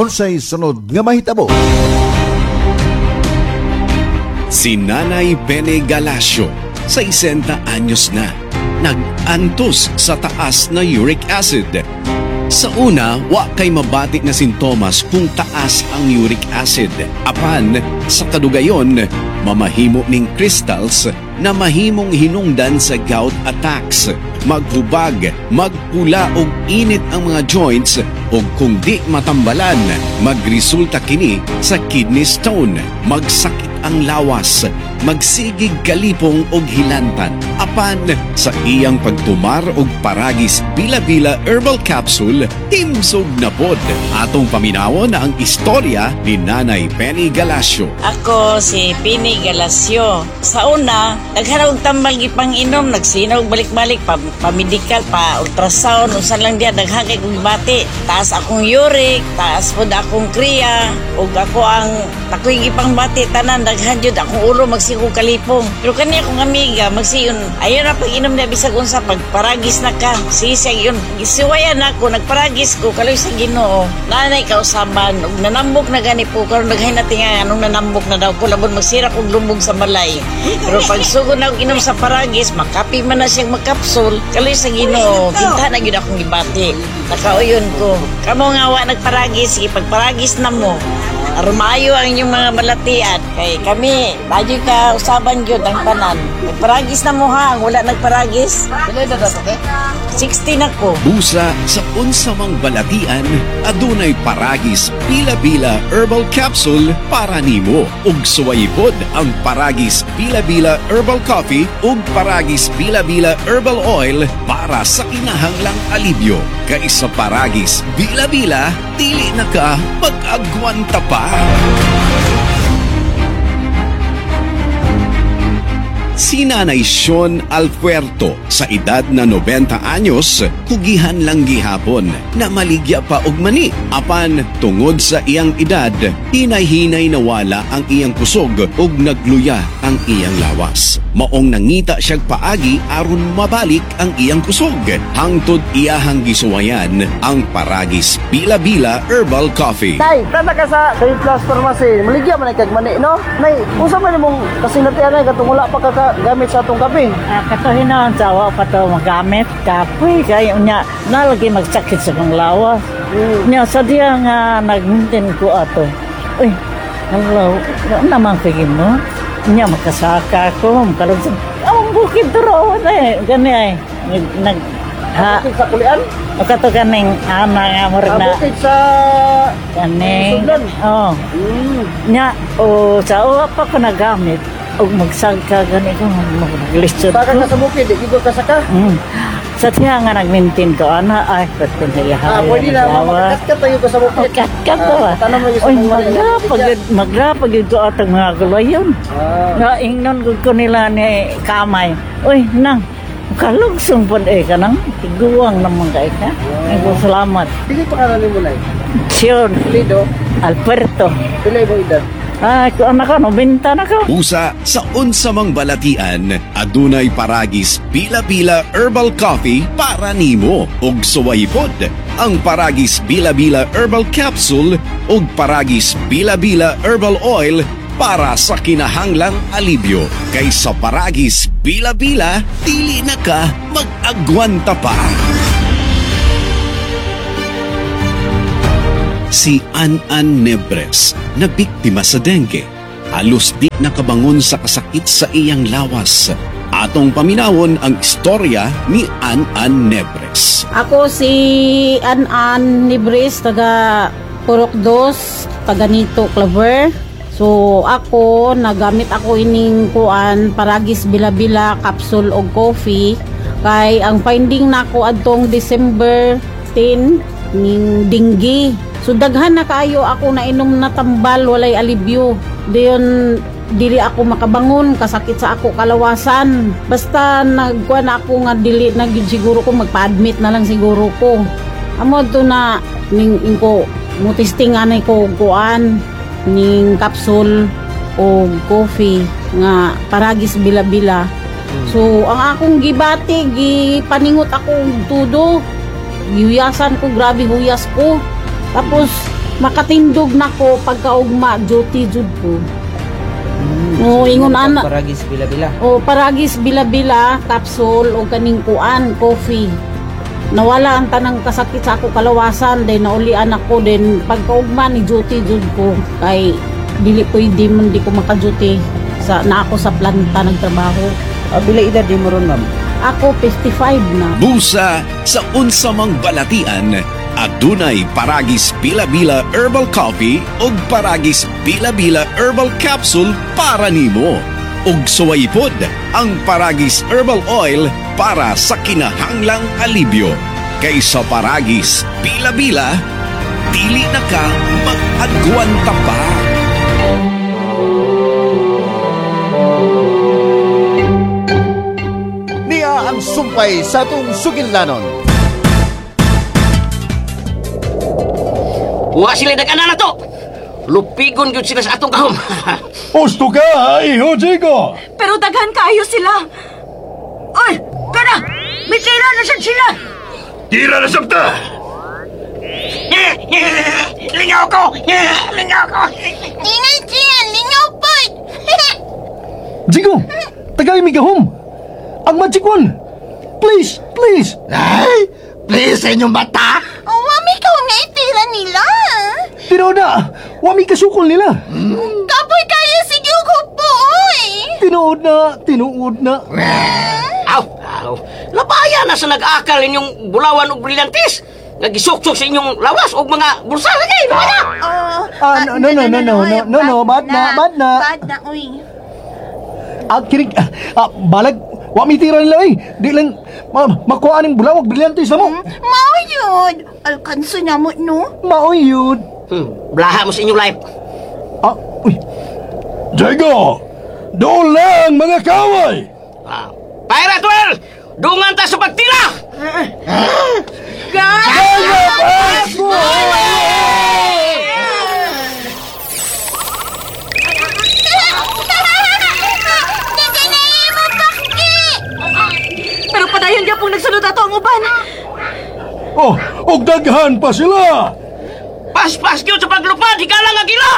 Unsay sunod nga mahitabo? Si Nanay Pene Galacio, 60 anyos na, nag-antos sa taas na uric acid. Sa una, wa kay mabati na sintomas kung taas ang uric acid. Apan, sa kadugayon, mamahimo ning crystals na mahimong hinungdan sa gout attacks. Maghubag, magpula og init ang mga joints ug kung di matambalan, magresulta kini sa kidney stone, magsakit ang lawas, magsigig kalipong og hilantan. Apan sa iyang pagtumar og Paragis Bila-Bila Herbal Capsule, himsog na pod. Atong paminawon ang istorya ni Nanay Penny Galacio. Ako si Pini Galacio. Sa una, daghan og tambal gipang inom, nagsinaw balik-balik pa, pa medical, pa ultrasound, unsa lang diya, daghan kay kong bati. Taas akong uric, taas pod akong kriya, ug ako ang takoy gipang bati tanan, daghan jud akong ulo, magsigo kalipong. Pero kani akong amiga magsiyon, ayo na pag inom na bisag unsa, pagparagis na ka. Sige siya yun. Gisuwayan ako, nagparagis ko kaloy sa Ginoo. Nanay kausaban ug nanambok na gani po karon, daghan na tinga anong nanambok na daw ko, labon magsira kog lubog sa balay. Pero pag sugod na og inom sa Paragis, makapi man na siyang makapsul, kaloy sa Ginoo, kinta na gyud akong gibati. Nakauyon ko. Kamo nga wa nagparagis, sige, pagparagis na mo. Aron maayo ang inyong mga balatian. Kay kami, tayo ka usaban gyud ang tanan. Nagparagis na mo ha, ang wala nagparagis. Pila na dato ke? 60 na ko. Busa sa unsa mang balatian, adunay Paragis Bila-Bila Herbal Capsule para nimo. Ug suwayipod ang Paragis Bila-Bila Herbal Coffee ug Paragis Bila-Bila Herbal Oil para sa kinahanglang alibyo. Kay sa Paragis Bila-Bila, dili na ka mag-agwanta pa. Si Nanay Sean Alpuerto sa edad na 90 anyos, kugihan lang gihapon na maligya pa og mani. Apan tungod sa iyang edad, hinay-hinay nawala ang iyang kusog ug nagluya ang iyang lawas. Maong nangita siyag paagi aron mabalik ang iyang kusog. Hangtod iyahang gisuwayan ang Paragis Bila-Bila Herbal Coffee. Nay, tanda ka sa Trade Plus Pharmacy. Maligya man ay kag mani, no? Nay, unsa man imong kasinatian nay katong wala pa ka gamit sa atong kape? Ah, kato hinaon sa wa pa to magamit, kapoy kayo nya, nalagi magsakit sa kong lawas. Nya sa diya nga nagmintin ko ato. Uy, hello, naman kay mo. Nya makasaka ko, makalog sa ang bukid duro na eh. Gani ay nag, nag ha Bukid sa kulian? O kato kaning ana nga murag Ah, na bukid sa kaning Sugdan. Oh. Nya o sa wa pa ko nagamit og magsagka gani ko maglisod Saka ko. ka sa bukid, di gid ka saka. Sa tiya nga nag-maintain ko, ana, ay, pwede na Ah, pwede na makakatkat tayo ka sa bukid. Kat-kat to ah. Tanong mo yung sa Oy, mga mani. magrapag yun ko atong mga gulayon. Nga, ingnon ko ko nila ni kamay. Uy, nang, kalugsong po eh ka nang, tiguang naman kay ka. Ay, ko salamat. Dili pa ka mo nay. Siyon, Lido, Alberto. pila imong edad? Ay, ko anak ko, 90 na ko. Usa sa unsa mang balatian, adunay Paragis Bila-Bila Herbal Coffee para nimo ug suwayipod ang Paragis Bila-Bila Herbal Capsule ug Paragis Bila-Bila Herbal Oil para sa kinahanglang alibyo. Kay sa Paragis Bila-Bila, dili na ka mag-agwanta pa. Si An-An Nebres na biktima sa dengue. Halos di nakabangon sa kasakit sa iyang lawas. Atong paminawon ang istorya ni An-An Nebres. Ako si An-An Nibris, taga Purok Dos, taga Nito, Claver. So ako, nagamit ako ining kuan, Paragis Bila-Bila, capsule og coffee. Kay ang finding nako adtong December 10 ning dinggi. So daghan na kaayo ako nainom na tambal, walay alibyo. Dayon dili ako makabangon, kasakit sa ako kalawasan. Basta nagkuan ako nga dili na gyud siguro ko, magpa-admit na lang siguro ko. Amo to na ning ingko mo testing anay ko kuan ning capsule o coffee nga Paragis Bila-Bila. So ang akong gibati, gipaningot ako og tudo. Gihuyasan ko, grabe huyas ko. Tapos Makatindog na ko pagkaugma, duty jud ko. Oo, ingon ana. Paragis bila-bila. O paragis bila-bila, capsule o kaning kuan, coffee. Nawala ang tanang kasakit sa ako kalawasan, then naulian ako, then pagkaugma ni duty jud ko kay dili pwede man di ko maka-duty sa na ako sa planta nagtrabaho. Pila edad di mo ron, ma'am? Ako 55 na. Busa sa unsamang balatian, adunay Paragis Bila-Bila Herbal Coffee ug Paragis Bila-Bila Herbal Capsule para nimo. Ug suway pod ang Paragis Herbal Oil para sa kinahanglang alibyo. Kaysa Paragis Bila-Bila, dili na ka mag-agwanta pa. Niya ang sumpay sa atong sugilanon. Wa sila nag-ana na to. Lupigon gyud sila sa atong kahom. Usto ka, iho, Jigo! Pero daghan kaayo sila. Oy, kana! May tira na sad sila. Tira na sabta! Lingaw ko! Lingaw ko! Ingay Gian, lingaw pod. Jigo, tagay mi gahom! Ang magic one! Please, please! Ay, please sa inyong bata! Wa mi ka nga itira nila. Tinood na! Wa mi kasukol nila! Kapoy kayo si Hugo po, oy. Tinuod na, tinuod na. Aw, aw. Labaya na sa nag-akal inyong bulawan og brilyantes. Nagisuksok sa inyong lawas og mga bulsa. Sige, labaya! Ah, no, no, no, no, no, no, no, no, bad na, bad na. Bad na, uy. Ah, kinig, balag, wa mi tira nila eh. Di lang, makuha ning bulawag, brilyantes na mo. Mao yun. Alkanso na mo, no? Maoy yun. Blaha mo sa inyong life. Ah, uy. Jigo! Doon lang, mga kaway! Pirate Well! Dungan ta sa pagtira! Pero padayon gyapon nagsunod ato ang uban. Oh, og daghan pa sila! Paspas gyud sa paglupad, higala nga gila!